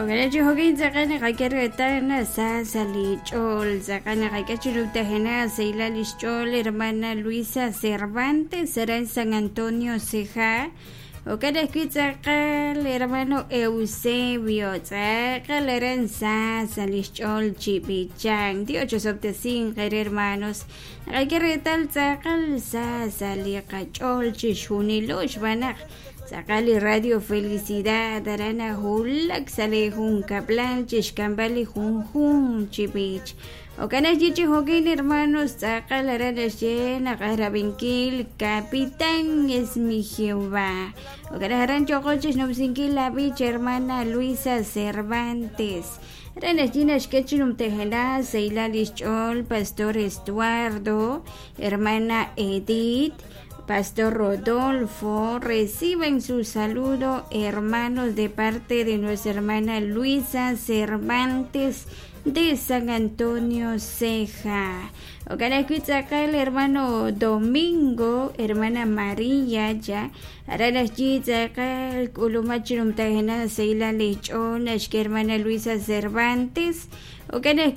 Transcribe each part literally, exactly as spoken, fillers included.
Ojalá chihokin tz'aqal naqak'e reetal sa sa li ch'ol tz'aqal naqak'e chirub'tajena sayla lix ch'ol hermana Luisa Cervantes aran San Antonio Ceja. Ojalá ajwi' tz'aqal hermano Eusebio tz'aqal aran sa sa lix ch'ol chib'ichan. Dios chosob'tesin qere hermanos naqak'e reetal tz'aqal sa sa li qach'ol chixjunilo xb'aan tz'aqal li Radio Felicidad aran hulak sa li junkablal chixk'amb'al li junjun chib'ich. Ojalá chi hokin hermanos tz'aqal aran naxye naqarab'inkil Capitán es mi Jehová. Ojalá aran choqol chixnub'sinkil la b'ich hermana Luisa Cervantes. Aran naxye naxk'e chinumtejena sayla lix ch'ol Pastor Estuardo, hermana Edith, Pastor Rodolfo, reciben su saludo, hermanos, de parte de nuestra hermana Luisa Cervantes de San Antonio Ceja. Ojalá el hermano Domingo, hermana María, ya. Hermana Luisa Cervantes. Ojalá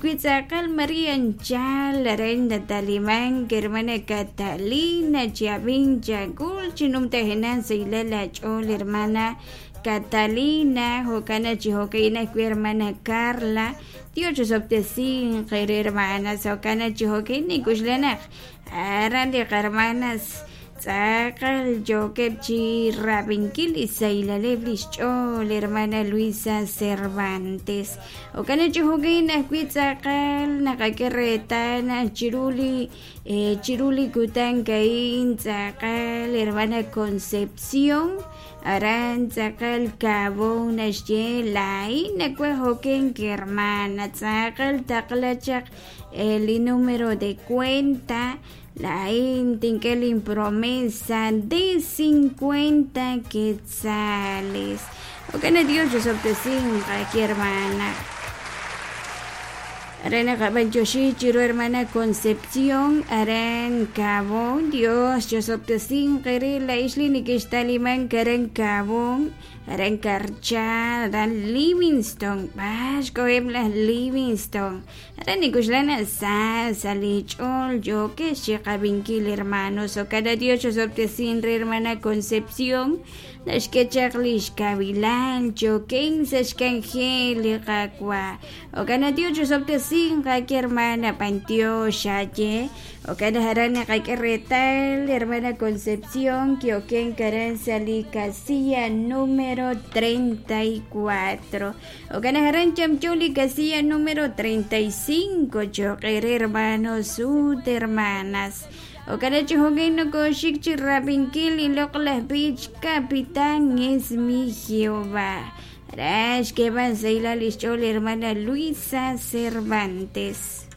María Anchal, Arenda Talimán, hermana Catalina, Chavín, Chagul, Chinumtajena, Seila Lachol, hermana Catalina, Jocana Chijoqueina, hermana Carla, Dios sobtesin, hermanas, Jocana Chijoqueina, Kushlenach, Arandi hermanas, Tzaqal, Yokepchi, Rabinkil, Isaila Leblis, Chol, hermana Luisa Cervantes. Ocana Chijoqueina, Cuitzaqal, Nakaquerretana, Chiruli, eh, Chiruli Kutancaín, Tzaqal, hermana Concepción, Aran tzaqal Cabón, Naxye, Lain, Nacuajoquen, hermana, Tzaqal, Taqlachaq, el número de cuenta, la Intinkelin promesa de cincuenta quetzales. Ok, Dios, yo soy aquí, hermana. Arana Gabanchoshi, Chiro, hermana Concepción, Aran Cabón, Dios, yo soy la Isli Nikistaliman, Karen Cabón, Aran Karcha, Aran Livingston, Vasco Ebla Livingston, Aran Nikushlana Sa, Salichol, yo que Shekabinkil, hermanos, o cada Dios, yo soy hermana Concepción, Nashkechaklish Kabilal, Choken, Sashkangel, Kakwa, o cada Dios, yo soy que hermana Pantio Shaye, o cada jarana retal, hermana Concepción, Kioken Karanzali Casilla número treinta y cuatro, o cada jaran Chamchuli Casilla número treinta y cinco, choquer hermanos, sud hermanas. O cada chijoguino con Shikchi Rabinkil y Loclas Beach, Capitán es mi Jehová. Rash que va a la hermana Luisa Cervantes.